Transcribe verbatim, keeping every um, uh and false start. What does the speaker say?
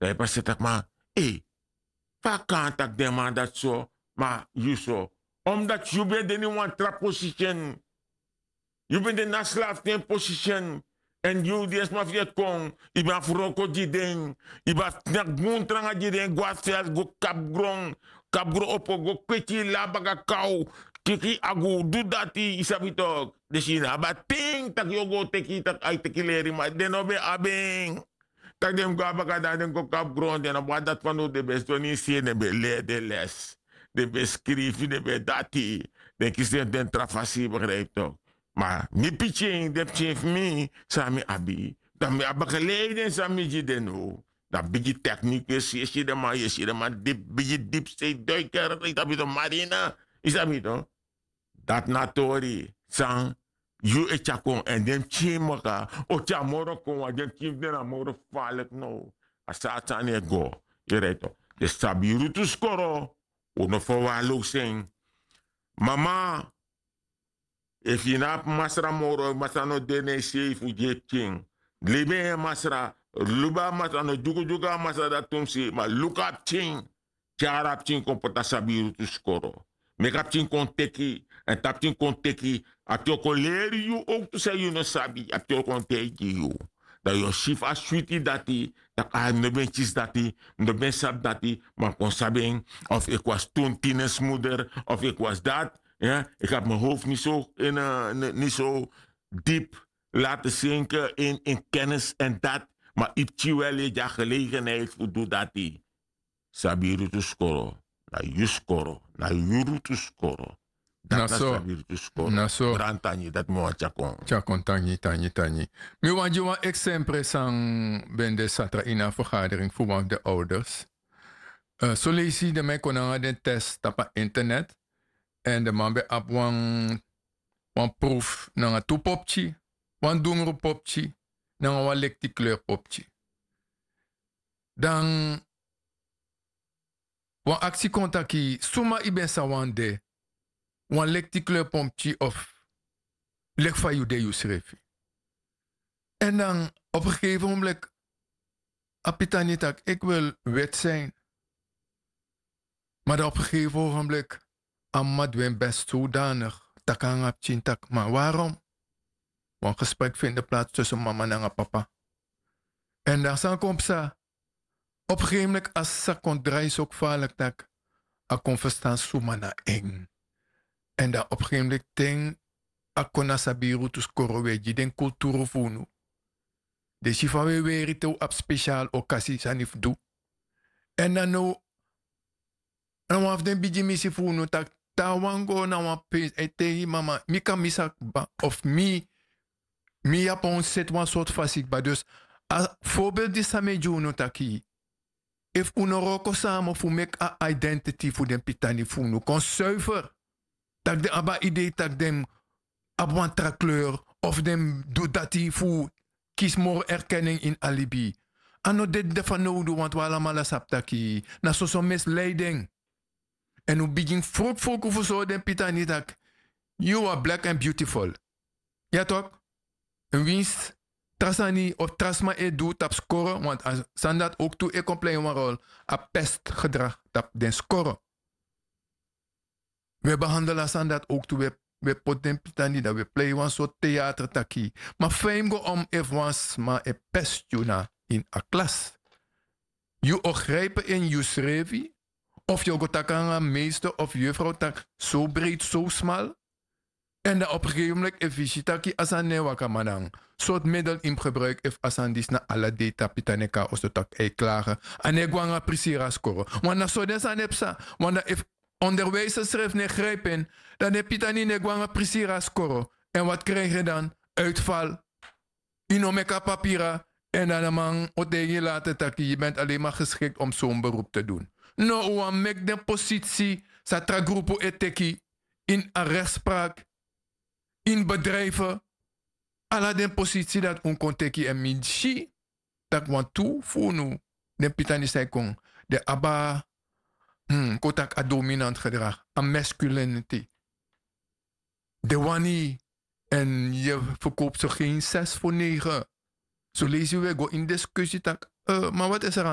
Dan yu pasi taki ma, ei, fa a kan taki den man dati so? Ma yu so, omdati yu ben de na ini wan tra posisi en. Yu ben de na slafu ten posisi en. Èn yu di en sma fu yu e kon, yu ben abi wroko gi den. Yu ben abi snaki bun tranga gi den go na sels go kapu gron, kapu gron opo go kweti yu la baka kaw, kiki agu du dati yu sabi toki. Den si yu no abi a ten tak' yu o go teki tak' a yu teki leri ma den no ben abi en. Tak' den mus go na baka dan den go kapu gron den no ben abi dati fanowdu den ben sidon na ini se den ben leri den les, den ben skrifi den ben dati, den kisi den tra fasi yu begripi toki. Ma mi pikin den pikin fu mi san mi abi, dan mi abi gelei den san mi gi den now. Dan bigi teknik yu e si den man yu e si den man dipi bigi dipi sei duiker yu tabi den marina, yu sabi no? Dati na a tori san yu e tyari kon èn den pikin maka o tyari moro kon wan den pikin fu den na moro falik now. A sati sani e go. Yu reti no? Den sabi yu rutu skoro. Un no ferwarlowsi en. Mama, efu yu no abi masra moro masra no de na yu sei fu gi yu pikin. Libi en yu masra, libi a masra no dyukudyuku a masra dati tu mus sei ma luku a pikin. Tyari a pikin kon poti a sabi yu rutu skoro. Meki a pikin kon teki. Èn te a pikin kon teki, a pikin o kon leri yu owktu san yu no sabi a pikin o kon taigi yu. Dan yu o si fu a switi dati tak' a mi no ben kisi dati, mi no ben sabi dati ma mi kon sabi en. Of eki wasi tun tines muder of eki wasi dati. Eki abi mi howfu ni so, ni so dipi lati sinke ini kennis èn dati. Ma yu pikin weri yu e gi a gelegenheit fu du dati. Sabi yu rutu skoro. Na yu skoro na yu rutu skoro. Dati na so. Sabi yu rutu skoro. Na so. Brani tangi dati mi wani tyari kon. Tyari kon tangi tangi tangi. Mi wani gi wan eksempre san ben de satra ini a fergadering fu wan fu den owders. Soleisi den man e kon nanga den test tapu a internet. Èn den man ben abi wan wan profu nanga tu popki, wan dungru popki nanga wan lekti kleur popki. Dan wan aksi kon taki suma yu ben sa wani de, wan lekti kleur pomki of leki fa yu de yusrefi? Èn dan op en gegeven ogenbliki a pitani taki eki wil weti sin. Ma dan op en gegeven ogenbliki a mama du en besti sodanik taki nanga a pikin taki ma warom? Wan gesprek findi plats tusen mama nanga papa. Èn dan san kon psa? Op en gegeven ogenbliki a sisa kon drai so kfalik tak' a kon ferstan suma na en. Èn dan op en gegeven ogenbliki ten a kon na sabi yu rutu skoro wi e gi den kulturu fu unu. Den si fa wi e weri te wi abi spesial okasi sani fu du. Èn dan now na wan fu den bigi misi fu unu tak' te a wani go na wan peesi a e taigi mama mi kan misi a kba of mi mi yapon seti wan sortu fasi kba dus a forbeldi san mi e gi unu taki efu un no wroko sama fu meki a identiti fu den pitani fu unu kon suifer, tak' den abi a idei tak' den abi wan tra kleur of den mus du dati fu kisi moro erkening ini a libi. A no de de fanowdu wantu un alamala sabi taki na soso misleiding. Èn un bigin frukfruku fu sori den pitani tak' yu a black èn beautiful. Ya tok'? Winsi tra sani of tra sma e du tapu skoro wantu a sani dati owktu e kon plei wan rol. A pestgedrag tapu den skoro. Wi e behandel a sani dati owktu wi e poti den pitani dan wi e plei wan sortu teater taki ma fa yu mus go om efu wan sma e pesti yu na ini a klas. Yu o gripe ini yusrefi of yu o go taki nanga meester of yufrow taki so breiti so smal. Èn dan op en gegeven moment efu yu si taki a sani no e waka ma dan sortu middel yu mus gebruiki efu a sani disi na ala dei tapu yu tan e kon na oso tak' a e klage. A no e go nanga prisiri a skoro. Wan na so den sani e psa. Wan dan efu onderwijser srefi no e gripi en dan den pitani no e go nanga prisiri a skoro. Èn wati krijgi dan uitval. Yu no meki a papira. Èn dan a man o taigi yu later taki yu benti alenma geskikti om son berupu te dun. No un wani meki den positsi san tra grupu e teki ini a rekspraki, ini bedrijfe, ala den positsi dati un kon teki èn mi si tak' wantu fu unu den pitani san e kon den abi a kon taki a dominant gedrag, a masculiniti. Den wani yu èn yu ferkowpu so gen ses fu negen. Soleisi wi e go ini diskusi tak' ma wati e seri a